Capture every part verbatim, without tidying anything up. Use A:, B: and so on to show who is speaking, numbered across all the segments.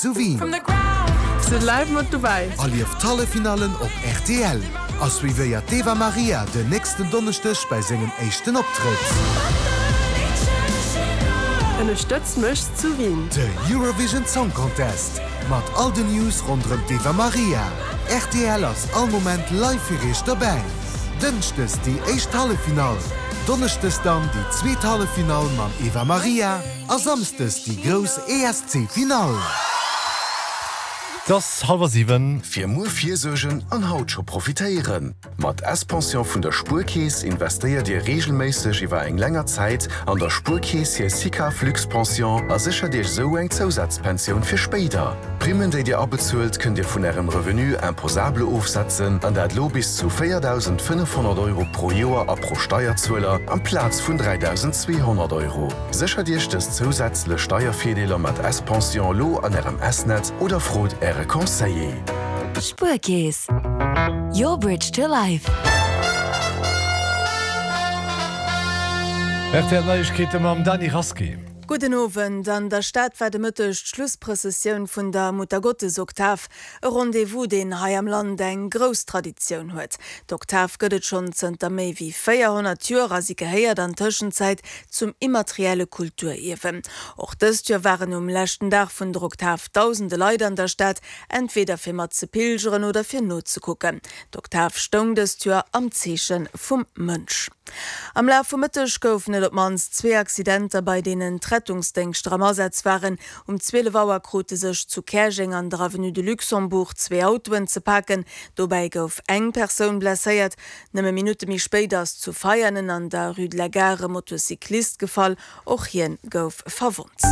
A: Zu Wien.
B: Sidd live mat dobäi.
A: Erlieft d'Halleffinallen op rtl a suivéiert d'Eva Marija den nächsten Donneschdeg bei sengem éischten Optrëtt.
B: Ënnerstëtz mech zu Wien.
A: De Eurovision Song Contest mat all den News ronderëm d'Eva Marija. Rtl ass all Moment live fir iech dobäi. Dënschdes déi éischt Halleffinall, Donneschdes dann déi zweet Halleffinall mam Eva Marija a Samsdes déi grouss ESC Finall.
C: Et ass hallwer siwen.
D: Fir muer virsuergen an haut scho profitéieren! Mat S-Pension vun der Spuerkeess investéiert Dir reegelméisseg iwwer eng länger Zäit an der Spuerkeess hir SICAV Luxpension a séchert Iech esou eng Zousazpensioun fir spéider. D'Primmen, déi Dir abezuelt, kënnt Dir vun Ärem Revenu imposable ofsetzen, an dat elo bis zu véierdausendfënnefhonnert Euro pro Joer a pro Steierzueler, amplaz vun dräidausendzweehonnert Euro. Séchert Iech dës zousätzlech Steiervirdeeler mat S-Pension elo an Ärem S-Netz oder frot Äre Conseiller.
E: Spuerkeess, your bridge to life.
C: Rtl Neiegkeete mam Dany Rasqué.
F: Gudden Owend. An der Stad war de Mëtteg d'Schlussprëssessioun vun der Muttergottesoktav, e Rendez-vous, deen hei am Land eng grouss Traditioun huet. D'Oktav gëtt et schonn zënter méi wéi véierhonnert Joer a si gehéiert an Tëschenzäit zum immaterielle Kulturierwen. Och dëst Joer waren um leschten Dag vun der Oktav dausende Leit an der Stad, entweder fir mat ze pilgeren oder fir nozekucken. D'Oktav stoung dëst Joer am Zeeche vum Mënsch. Am Laf vum Mëtteg goufen et op d'mannst zwee Accidenter, bei deenen d'Rettungsdéngschter am Asaz waren. Um zwielef Auer krute sech zu Käerjeng an der Avenue de Luxembourg zwee Autoen ze paken. Dobäi gouf eng Persoun blesséiert. Nëmme Minutte méi spéit ass zu Veianen an der Rue de la Gare e Motocyclist gefall. Och hien gouf verwonnt.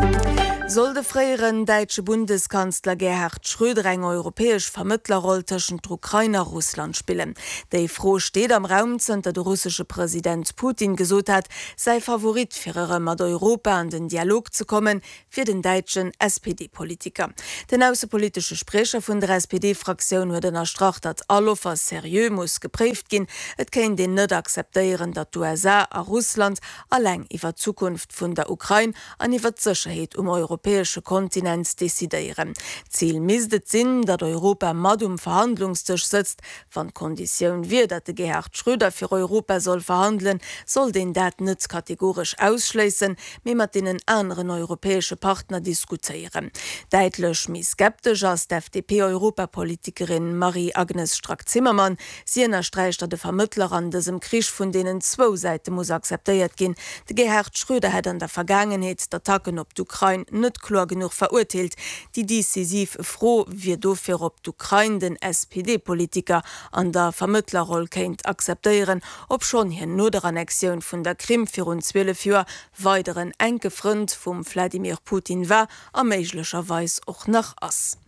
F: Soll de fréieren däitsche Bundeskanzler Gerhard Schröder eng europäesch Vermëttlerroll tëschent der Ukrain a Russland spillen? Déi Fro steet am Raum, zënter de russesche President Putin gesot hat, säi Favorit fir erëm mat Europa an den Dialog ze kommen, wier den däitschen S P D-Politiker. Den aussepolitesche Spriecher vun der S P D-Fraktioun huet ënnerstrach, datt all Offer seriö muss gepréift ginn. Et kéint een net akzeptéieren, datt d'U S A a Russland alleng iwwer d'Zukunft vun der Ukrain an iwwer d'Sécherheet um europäesche Kontinent decidéieren. Zil misst et sinn, datt Europa mat um Verhandlungsdësch sëtzt. Wann d'Konditioun wier, datt de Gerhard Schröder fir Europa soll verhandelen, sollt een dat net kategoresch ausschléissen, mee mat deenen aneren europäesche Partner diskutéieren. Däitlech méi skeptesch ass d'F D P-Europapolitikerin Marie-Agnes Strack-Zimmermann. Si ënnersträicht, datt e Vermëttler an dësem Krich vun deenen zwou Säite muss akzeptéiert ginn. De Gerhard Schröder hätt an der Vergaangenheet d'Attacken op d'Ukrain net kloer genuch verurteelt. Déi decisiv Fro wier dofir, ob d'Ukrain den S P D-Politiker an der Vermëttlerroll kéint akzeptéieren, obschonn hien no der Annexioun vun der Krim virun zwielef Joer weideren enke Frënd vum Wladimir Putin war a méiglecherweis och nach ass.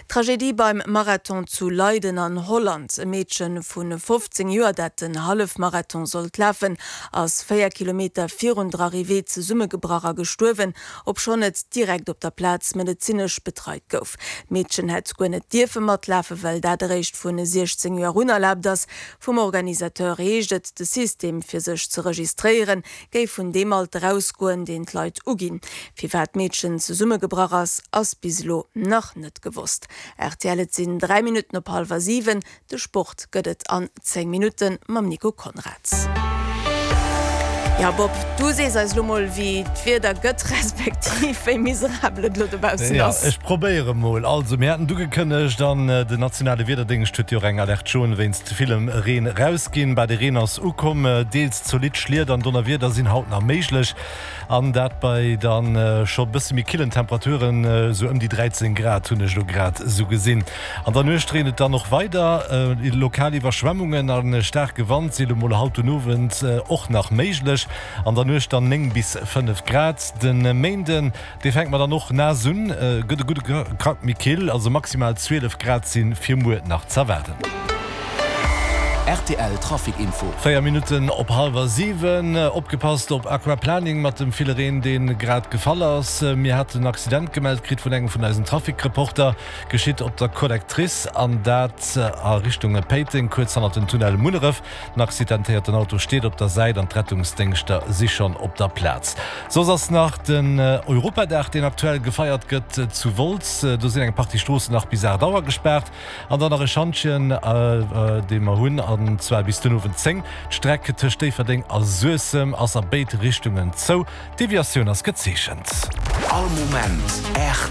F: Tragedie beim Marathon zu Leiden an Holland. E Meedche vun fofzéng Joer, dat den Hallefmarathon sollt lafen, ass véier Kilometer virun der Arrivée zesummegebrach a gestuerwen, obschonn et direkt op der Plaz medezinesch betreit gouf. D'Meedchen hätt guer net dierfe matlafen, well dat eréischt vun siechzéng Joer un erlaabt ass. Vum Organisateur heescht et, de System fir sech ze registréieren, géif vun deem Alter ausgoen, deen d'Leit uginn. Firwat d'Meedchen zesummegebrach ass, ass bis elo nach net gewosst. R T L, et sinn dräi Minutten op hallwer siwen. De Sport gëtt et an zéng Minutten mam Nico Konrads. Ja, Bob, du sees eis lo mol, wéi d'Wieder gëtt, respektiv wéi miserabel et lo dobaussen
C: Ja,
F: ass.
C: ech probéiere mol. Also, mir haten ugekënnegt, an den nationale Wiederdéngscht huet jo och eng Alerte jaune wéinst villem Reen rausginn. Bei de Reen ass ukomm, deels zolidd Schliet an Donnerwieder sinn haut nach méiglech. An dat bei dann scho bësse méi killen Temperaturen, sou ëm déi dräizéng Grad hunn ech lo grad sou gesinn. An der Nuecht reent et dann och weider. Lokal Iwwerschwemmungen a staarke Wand si lo mol haut den Owend och nach méiglech. An der Nuecht dann néng bis fënnef Grad. Den Méinden, dee fänkt mer dann och naass un, gëtt e gudde Krack méi kill, also maximal zwielef Grad si fir muer nach z'erwaarden.
G: Rtl Trafic Info.
C: Véier Minutten op hallwer siwen. Opgepasst op Aquaplaning mat dem ville Reen deen grad gefall ass. Mir haten en Accident gemellt kritt vun engem vun eisen Trafic-Reporter. Geschitt op der Collectrice an dat a Richtung Péiteng, kuerz hannert dem Tunnel Munneref. Den accidentéierten Auto steet op der Säit an d'Rettungsdéngschter si schonn op der Plaz. Soss ass nach den Europadag deen aktuell gefeiert gëtt zu Wolz. Do sinn eng Partie Stroossen nach bis aacht Auer gespaart. An dann nach e Schantjen, dee mer hunn, an zwar bis den Owend zéng. D'Streck tëscht Déifferdeng a Suessem ass a béid Richtungen zou. D'Deviatioun ass gezeechent.
G: All Moment rtl.